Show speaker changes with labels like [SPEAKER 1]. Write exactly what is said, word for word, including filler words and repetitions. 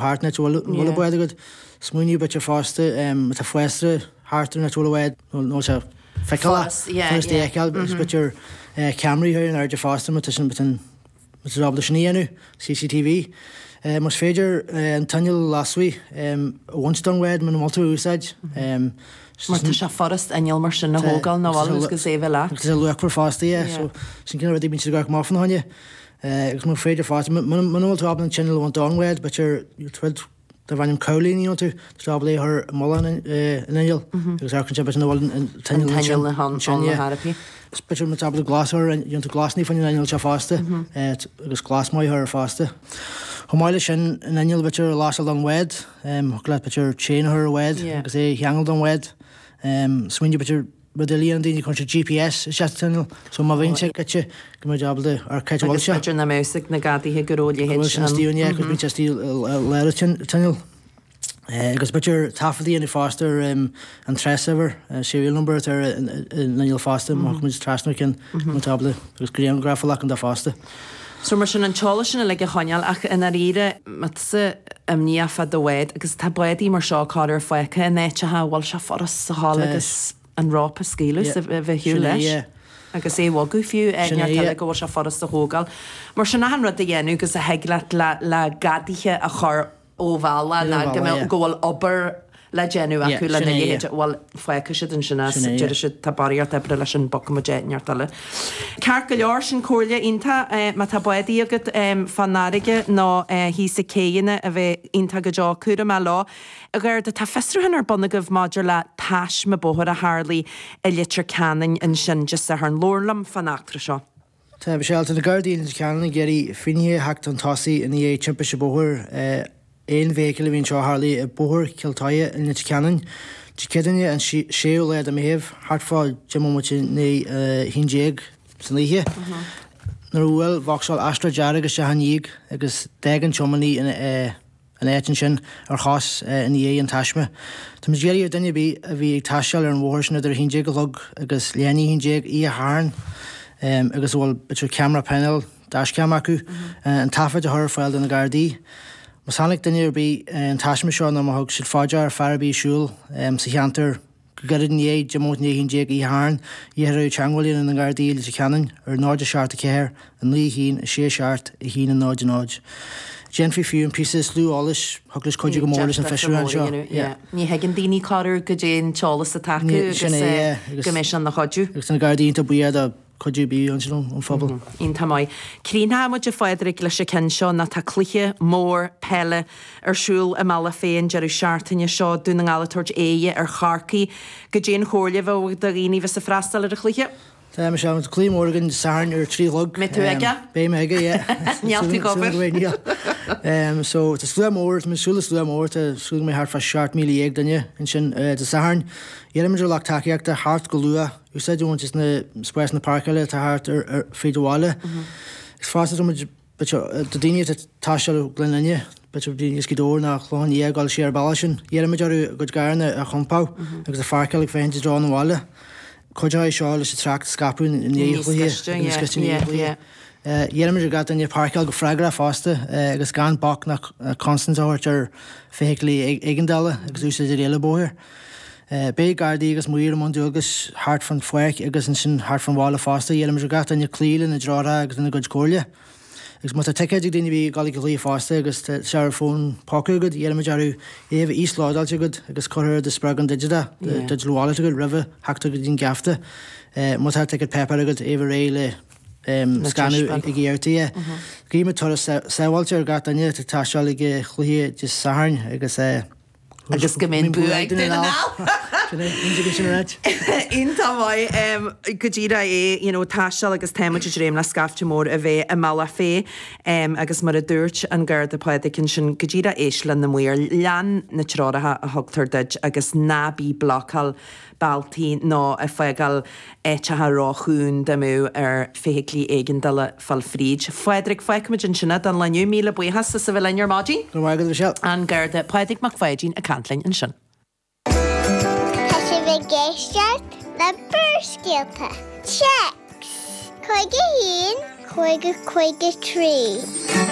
[SPEAKER 1] thart an áit a bhfuil an bád agat. Smaoineamh b'fhéidir fosta má tá fásra thart ar an áit a bhfuil an bád nó sé feiceálach, furast é a fheiceáil agus b'fhéidir ceamaraí a chur in airde fosta má tá sin má tá ábalta sin a dhéanamh, CCTV. Más féidir an t-inneall lasmuigh a bhaint den bhád muna bhfuil tú á úsáid.
[SPEAKER 2] Mar tá sé furast inneall mar sin a thógáil nó bhfuil agus é a bheith leat.
[SPEAKER 1] Agus tá sé luachmhar fosta, yeah. So sin cineál rudaí a bíonn siad ag amharc amach fána choinne. Agus más féidir fosta, muna bhfuil tú ábalta an t-inneall a bhaint den bhád, b'fhéidir rud darb ainm cowling a dhéanann tú, tá tú ábalta é a chur i mullach an innill agus amharcann sé b'fhéidir nach bhfuil an t-inneall ansin, yeah. Is b'fhéidir má tá ábalta glas a chur, dhéanann tú glasanna fá choinne an innill seo fosta agus glas maith a chur air fosta. Chomh maith leis sin, an inneall b'fhéidir a lasadh don bhád, thiocfadh leat b'fhéidir chain a chur ar an bhád agus é a cheangal don bhád. Smaoineamh b'fhéidir rud eile a dhéanann daoine, cuireann siad GPS isteach sa t-inneall so má bhíonn sé goidte go mbeidh ábalta ar cá háit a bhfuil
[SPEAKER 2] Agus
[SPEAKER 1] sé.
[SPEAKER 2] b'fhéidir nach mbeadh fhios ag na gadaithe go raibh a
[SPEAKER 1] Go
[SPEAKER 2] leithéid
[SPEAKER 1] bhfuil sin
[SPEAKER 2] ann.
[SPEAKER 1] istigh ann, yeah, 'cause bíonn sé istigh i lár an t-inneall. Agus b'fhéidir taifead a dhéanamh fosta ar an trástuimhir, serial number atá ar an inneall fosta má thiocfaidh muid trasna ar cheann go mbeidh ábalta agus grianghraf a ghlacadh de fosta.
[SPEAKER 2] So mar sin an t-eolas sin uilig a choinneáil ach i ndáiríre má tá tusa imníoch fá do bhád agus tá bádaí mar seo corruair fágtha in áiteacha a bhfuil sé furast a ghabháil agus an rópa a scaoileadh is a bheith ar shiúl leis agus é a bhogadh fiú áit inteacht eile go bhfuil sé furast a thógáil. Mar sin achan rud a dhéanamh agus a thig leat le le gadaithe a chur ó bhealach ná go mbeadh go bhfuil obair le déanamh acu lena leithéid, bhuel, fágfaidh siad ansin as, déarfaidh siad, tá barraíocht oibre leis sin, bogfaidh muid áit inteacht eile. Ceart go leor, sin comhairle iontach, má tá bádaí agat fán fharraige nó thíos ag céidheanna, a bheith iontach go deo cúramach leo. A Gharda, tá fiosrúchán ar bun agaibh maidir le taisme bóthair a tharlaigh i Leitir Ceanainn ansin Dé Sathairn. Labhair liom fán eachtra seo.
[SPEAKER 1] Tá, Michelle, tá na Gardaí i Leitir Ceanainn ag iarraidh finnéithe a theacht chun tosaigh i ndiaidh timpiste bóthair aon fheithicle a bhí anseo a tharlaigh i Bóthar Chill Toighe i Leitir Ceanainn Dé Céadaoine an séú lá de Mheitheamh, thart fá deich mbomaite i ndiaidh a haon déag san oíche, nuair a bhuail Vauxhall Astra dearg isteach ina ndiaidh agus d'fhág an tiománaí an áit ansin ar chos i ndiaidh an taisme. Táimid ag iarraidh ar duine ar bith a bhí ag taisteal ar an bhóthar sin idir a haon déag a chlog agus leath i ndiaidh a haon déag oíche Shathairn agus a bhfuil b'fhéidir ceamara peineal, dashcam acu, an taifead a chur ar fáil do na Gardaí. Má chonaic duine ar bith an taisme seo nó má thug siad fá dear fear ar bith ag siúl sa cheantar go gairid i ndiaidh deich mbomaite i ndiaidh a haon déag oíche Shathairn, iarrthar orthu teagmháil a dhéanamh na Gardaí i Leitir Ceanainn ar náid a seacht a ceathair, a naoi a haon, a sé a seacht, a haon a náid a náid. Déanfaí fiú an píosa is lú eolais, thiocfadh leis cuidiú go mór leis an fiosrúchán seo.
[SPEAKER 2] Ní thuigeann daoine corruair goidé an t-eolas atá acu agus go mbeidh sé ina chuidiú.
[SPEAKER 1] Agus tá na Gardaí iontach buíoch do Cuidiú ar bith ansin ón phobal.
[SPEAKER 2] Iontach maith. Críochnóidh muid a Phádraig leis an ceann seo ná tá cluiche mór peile ar siúl i mBealach Féich an deireadh seachtaine seo, Dún na nGall ag tabhairt aghaidhe ar Chorcaigh. Goidé an chomhairle a bheadh do dhaoine a bheas ag freastal ar an chluiche?
[SPEAKER 1] Tá, Michelle, tá cluiche mór againn Dé Sathairn ar a trí a chlog.
[SPEAKER 2] Mbeidh tú aige?
[SPEAKER 1] Beidh mé aige, yeah.
[SPEAKER 2] Níl tú ag obair?
[SPEAKER 1] Níl. So, tá slua mór, tá mé ag súil le slua mór, tá súil go mbeidh thart fá seacht míle dhéag duine ansin Dé Sathairn. Iarraimid ar lucht tacaíochta theacht go luath. Úsáid a bhaint as na spásanna páirceála atá thart ar fríd an bhaile. Is fosta tá muid do daoine atá ag taisteal ó Ghleann Fhinne, b'fhéidir daoine as Gaoth Dobhair nó Clochán Liath ag dul siar an bealach sin, iarraimid orthu a gcuid carranna a chompáil agus a pháirceáil ag féachaint i dtreo an bhaile. Cuideoidh seo leis an trácht a scaipeadh i ndiaidh an chluiche, níos gaiste i ndiaidh an chluiche. Iarraimid ar gach duine páirceáil go freagrach fosta agus gan bac ná consaint a thabhairt ar feithiclí éigeandála agus úsáid ar rialacha bóthair. Beidh Gardaí agus maoir i mbun dualgais thart fán pháirc agus ansin thart fán bhaile fosta. Iarraimid ar gach duine cloí lena dtreoracha agus lena gcuid comhairle. Agus má tá ticéid ag daoine a bhí ag dul ag an chluiche fosta agus tá sé ar fón póca agat, iarraimid orthu é a bheith íoslódáilte agat agus curtha ar do spreagán digiteach, do digital wallet agat roimhe theacht go dtí an geafta. Má tá ticéad páipéir agat, é a bheith réidh le scanadh ag iarrataí. Guímid turas sábháilte ar gach duine atá ag taisteal ag an chluiche Dé Sathairn agus.
[SPEAKER 2] Agus go mbeidh an bua ag Dún na nGall! Iontach maith. Go díreach é, you know, taisteal agus tá muid ag dréim le scaifte mór a bheith i mBealach Féich agus mar a dúirt an Garda Pádraig ansin, go díreach éist le na maoir, lean na treoracha a thugtar duit agus ná bí blocáil bealtaí nó ag fágáil áiteacha róchúng dá mbeadh ar feithiclí éigeandála fáil fríd. Phádraig, fágfaimid ansin é don lá inniu. Míle buíochas as a bheith linn ar maidin.
[SPEAKER 1] Go raibh maith agat, a Mhichelle.
[SPEAKER 2] An Garda Pádraig Mac Pháidín ag caint linn ansin.
[SPEAKER 3] Tá sibh ag éisteacht le Barrscéalta. Téacs, cúig a haon, cúig a cúig a trí.